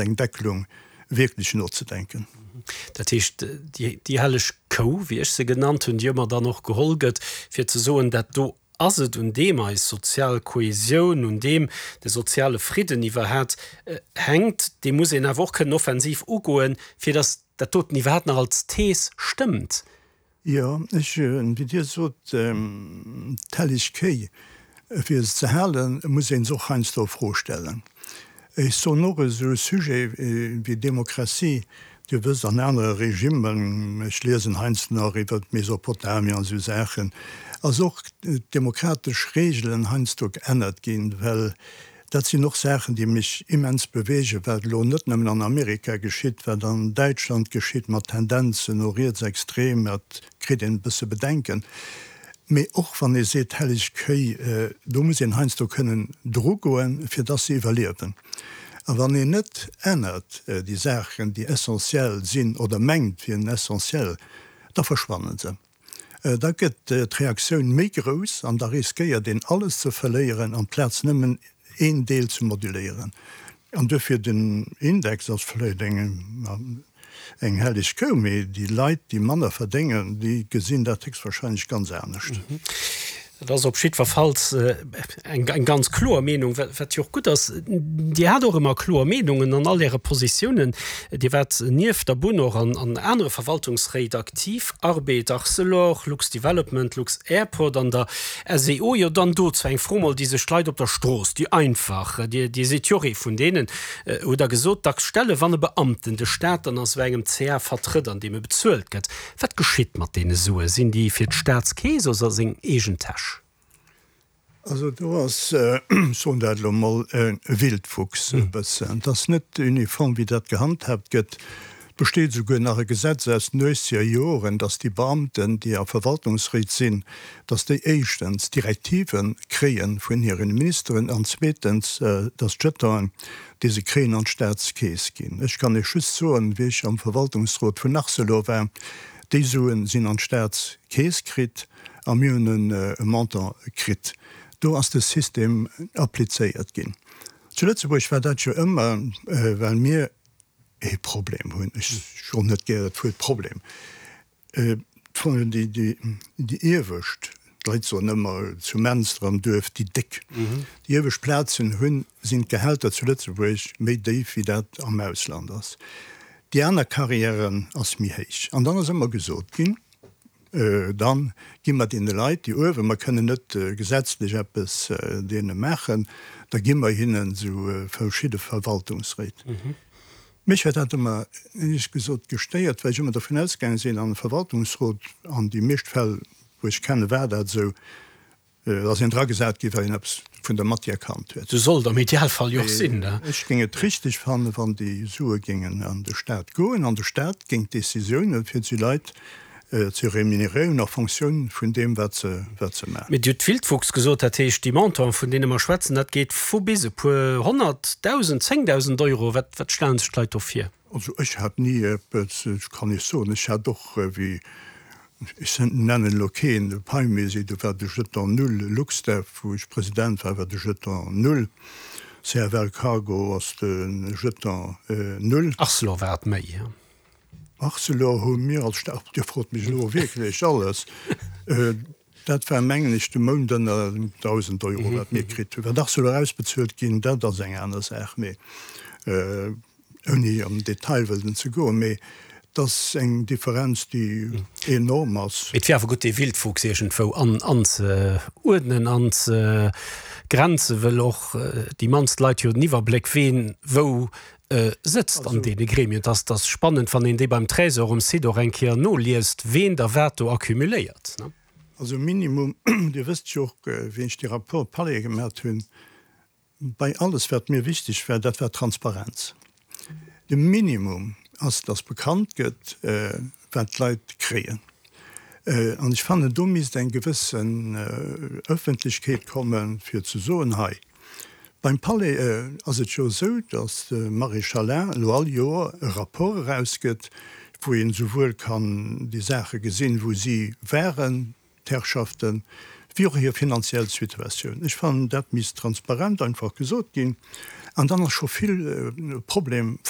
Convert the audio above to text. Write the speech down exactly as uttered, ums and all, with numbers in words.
iwwer eng Deckelung wierklech nozedenken. Dat heescht, déi helleg Kou, wéi ech se genannt hunn, déi ëmmer dann och geholl gëtt, fir ze soen, dat do ass et, un deem eis sozial Kohesioun, un deem de soziale Fridden iwwerhat hänkt, dee muss een awer och kënnen offensiv ugoen, fir datt dat doten iwwerhat nach als Thees stëmmt. Jo, ech, wéi Dir sot, d'helleg Kéi, fir se ze halen, muss ee se och heiansdo a Fro stellen. Ech soen och, esou e Sujet wéi Demokratie, Dir wësst, an anere Regimmen, ech liesen heiansdo nach iwwer Mesopotamien an esou Saachen, ass och d'demokratesch Regelen heiansdo geännert ginn, well dat sinn och Saachen, déi mech immens beweegen, wat elo net nëmmen an Amerika geschitt, wat an Däitschland geschitt mat Tendenzen no rietsextrem, dat kritt een e bësse Bedenken. Mee och wann ee seet helleg Kéi, do muss een heiansdo kënnen drugoen, fir dass se iwwerliewen. A wann een net ännert déi Saachen, déi essentiell sinn oder mengt wieren essentiell, da verschwannen se. Da gëtt d'Reaktioun méi grouss an da riskéiert een alles ze verléieren amplaz nëmmen een Deel ze moduléieren. An duerfir den Index ass vläicht eng eng helleg Kou, mee déi Leit, déi manner verdéngen, déi gesinn dat héchstwahrscheinlech ganz anescht. Dat ass op jiddwerfalls eng eng ganz kloer Meenung, wat jo och gutt ass. Dir hat och ëmmer kloer Meenungen an all Äre Positiounen. Dir waart nieft der Bunn och an an anere Verwaltungsréit aktiv, Arbed, Arcelor, Lux-Development, Lux-Airport an der S E O. Jo, dann dozou eng Fro mol, déi sech d'Leit op der Strooss, déi einfach, Dir, Dir sidd jo och ee vun deenen, hutt Der gesot, dacks stellen, wann e Beamten de Staat dann a sou engem C A vertrëtt, an deem e bezuelt gëtt, wat geschitt mat deene Sue? Sinn déi fir d'Staatskeess oder a seng eegen Täsch? Also do ass, ech soen dat elo mol, e Wildwuchs e bëssen. Et ass net uniform, wéi dat gehandhaabt gëtt. Et besteet esouguer nach e Gesetz aus den uechzeger Joren, datt déi Beamten, déi a Verwaltungsréit sinn, datt déi éischtens Direktive kréie vun hire Ministeren an zweetens, datt d'Jetonen, déi se kréien, an d'Staatskeess ginn. Ech kann Iech just soen, wéi ech am Verwaltungsrot vun Arcelor war, déi Suen sinn an d'Staatskeess kritt a mir hunn e Montant kritt. Do ass de System applizéiert ginn. Zu Lëtzebuerg war dat jo ëmmer, well mir ee Problem hunn, ech soen net gär dat Wuert Problem, déi iewescht, d'Leit soen ëmmer zu Menster am Duerf déi Déck, déi iewescht Plazen hunn, sinn d'Gehälter zu Lëtzebuerg méi déif wéi dat am Ausland ass. Déi aner Carrièren ass méi héich. An dann ass ëmmer gesot ginn, da gi mer deene Leit, déi uewen, mer kënnen net gesetzlech eppes deene maachen, da gi mer hinnen esou verschidde Verwaltungsréit. Mech huet dat ëmmer, éierlech gesot, gestéiert, well ech ëmmer dovun ausgaange sinn, an e Verwaltungsrot, an déi meescht Fäll, wou ech kennen, war dat esou, ass een dragesat ginn, well een eppes vun der Matière kannt huet. Esou soll et am Idealfall jo och sinn, ne? Ech géing et richteg fannen, wann déi Sue géingen an de Stat goen an de Stat géing d'Décisiounen fir déi Leit ze rémunéréieren en Fonctioun vun deem, wat se, wat se maachen. Mee Dir hutt Wildwuchs gesot, dat heescht, déi Montanten, vun deene mer schwätzen, dat geet vu bis e puer honnert, dausend, zéngdausend Euro. Wat, wat stellen sech d'Leit do vir? Also ech hat ni eppes, ech kann Iech soen, ech hat och, wéi, ech nennen elo keen, de Paimusée, do war de Jeton null, Luxdev, wou ech President war, war de Jeton null, C F L Cargo ass de Jeton null. Arcelor war et méi. Arcelor hu mir als Staat, Dir frot mech elo wierklech alles, dat war mengen ech de Mount ënner dausend Euro wat mir kritt hunn. Wat Arcelor ausbezuelt ginn, dat ass eng aner Saach, mee ouni am Detail wëllen ze goen, mee et ass eng Differenz déi enorm ass. Et wier awer gutt dee Wildwuchs iergendwou anzeuerdnen, anzegrenzen, wëll och déi mannst Leit jo den Iwwerbléck ween wou sëtzt an deene Gremien. Et ass, ass spannend, wann een déi beim Trésor um Site och eng Kéier noliest, ween da wat do accumuléiert. Also Minimum, Dir wësst jo och, wéi ech dee Rapport Palais gemat hunn, bei alles wat mir wichteg war, dat war Transparenz. De Minimum ass, dass bekannt gëtt, wat d'Leit kréien. An ech fannen, do misst eng gewëssen Öffentlechkeet kommen, fir ze soen, hei, beim Palais ass et jo esou, datt de Maréchalin elo all Joer e Rapport erausgëtt, wou een esouwuel kann déi Saache gesinn, wou si waren, d'Herrschaften, wéi och hir finanziell Situatioun. Ech fannen, dat misst transparent einfach gesot ginn, an dann ass scho vill Problem.